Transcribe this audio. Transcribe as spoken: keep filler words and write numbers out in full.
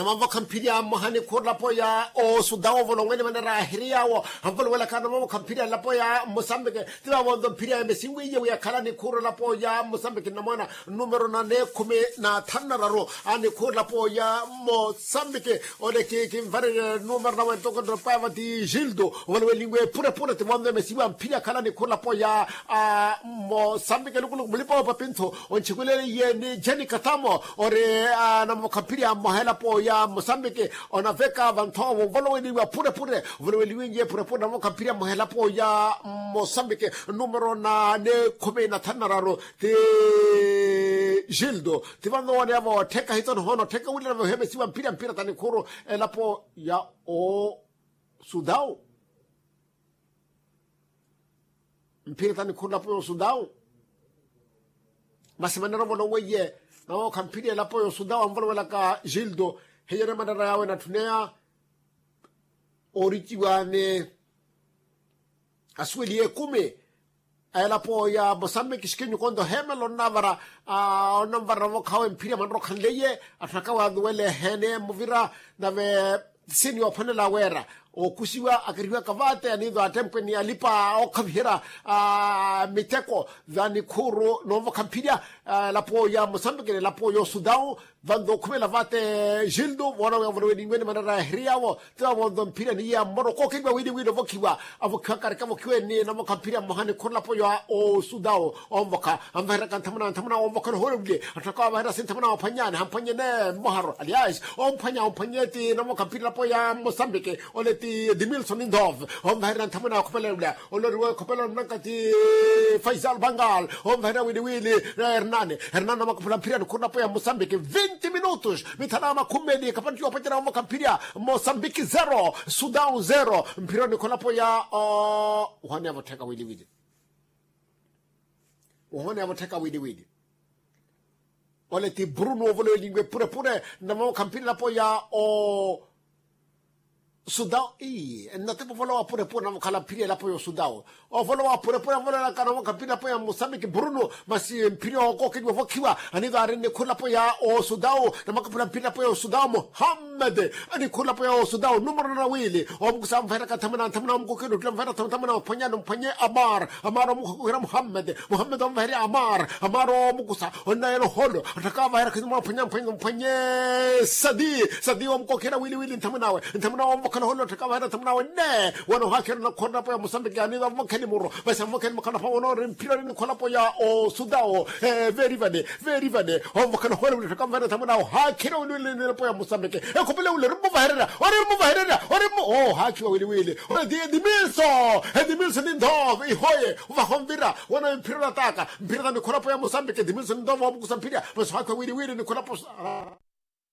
Namavokha mphirya mmoha nikhuuru elapo ya osudawo ovolowenle manera ahiri yaawo anvolowelaka namavokha mphirya elapo ya mosambike. Ti vavonto mphirya emesinwiye wi akhala nikhuuru elapo ya mosambike namona numero nane khumi na thanu nararu. Anikhuuru elapo ya mosambike ole kinvarerye numero nawe ntoko nropaeva ti gildo ovolowelinwe epurepure ti vonto emesiwa mphirya akhala nikhuuru elapo ya mosambike lukuluku mulipa wa papintho. Onchikuleliye ni jeni katamo ori anamukhaphirya mmoha elapo ya mosambiki onaveka vanthoovo ovoloweliwa phurephure. Ovoloweliwinye phurephure namukhaphirya mmoha elapo ya mosambiki numero na ni khumi na thanu na raru ti gildo ti vanooneya voottheka hitsoni hoona ottheka wili nave ohemesiwa mphirya mphirya tanikhuru elapo ya osudau. Mphirya tanikhuru elapo ya osudau. Masi manera ovoloweiye nawookha mphirya elapo ya osudau anvolowelaka gildo. Heiyere manera yawe natthuneya ooriciwa ni asuweliye ekumi a elapo ya mosambiki xikinyukonto heemela onnavara onnanvara navokhawe mphirya manera okhanleiye. Atthu akawe aluwele eheene muvira nave sini yoophwanela weera ookusiwa akarihiwaka vaate aniitho attempe ni alipa ookhaviherya miteko vanikhuuru noovokha mphirya elapo ya mosambiki n'elapo ya osudau. Vanto okhumela vaate gildo voona wi avolowelinwe ni manera ehiri yaawo. Ti vavonto mphirya niye ammoro kookeliwa wili wili ovokhiwa avokhiwaka arikavokhiwe ni namokha mphirya mmoha nikhuuru elapo ya osudau. Onvokha anvaheraka nthamuna nthamuna onvokha nohoole wile atthaka avaherasi nthamuna omphwanyani hamphwanyene mmoharo alias omphwanya omphwanye ti namokha mphirya elapo ya mosambiki. Ole ti dimilson ndove onvaherya nthamuna okhopelelula. Oloriwe khopelo nnanka ti faisal bangal onvaherya wili wili. Hernani hernani namakaphula mphirya nikhuuru elapo ya mosambiki vinti minutos mithana makhumi eli kapattiwa opacera onvokha mphirya mosambiki zero sudau zero. Mphirya nikhuuru elapo ya ohooneya vottheka wili wili. Ohooneya vottheka wili wili. Ole ti bruno ovolowelinwe purepure namokha mphirya elapo ya o sudau ii nnatipo ovolowa purepure namukhala mphirya elapo ya osudau. Ovolowa purepure avolowelaka namukhala mphirya elapo ya mosambiki bruno masi mphirya okookeliwa ovokhiwa anivaari nnikhuru elapo ya osudau. Namakaphula mphirya elapo ya osudau muhammad. Anikhuru elapo ya osudau numero nana wili omukusa anvaheraka nthamuna nthamuna omukookeliwa ottula anvaheraka nthamuna ophwanyani omphwanye amar amar omukookeliwa muhammad. Muhammad onvaherya amar amar omukusa onnayela oholo atthaka avaheraka nthamuna ophwanya mphwanye mphwanye sadi sadi omukookeliwa wili wili nthamuna awe nthamuna awe onvokhala oholo atthaka avaheraka nthamuna awe nne. Wana ohaakhira onakhoora elapo ya mosambiki aniva avokhe nimuro masi avokhe nimuro khanapha wona ori mphirya ori nikhoora elapo ya osudau. Veerivane veerivane onvokhala oholo wili atthaka avaheraka nthamuna awe ohaakhira wili wili elapo ya mosambiki. Ekhopele wili ori mmuvahererya ori mmuvahererya ori mmu ohaakhiwa wili wili. Ore ti edimilso edimilso ni ndove ihoye ovaha onvira wana mphira orataka mphira tani khulapo ya mosambiki edimilso ni ndove omukusa mphira masi ohaakhiwa wili wili ni khulapo.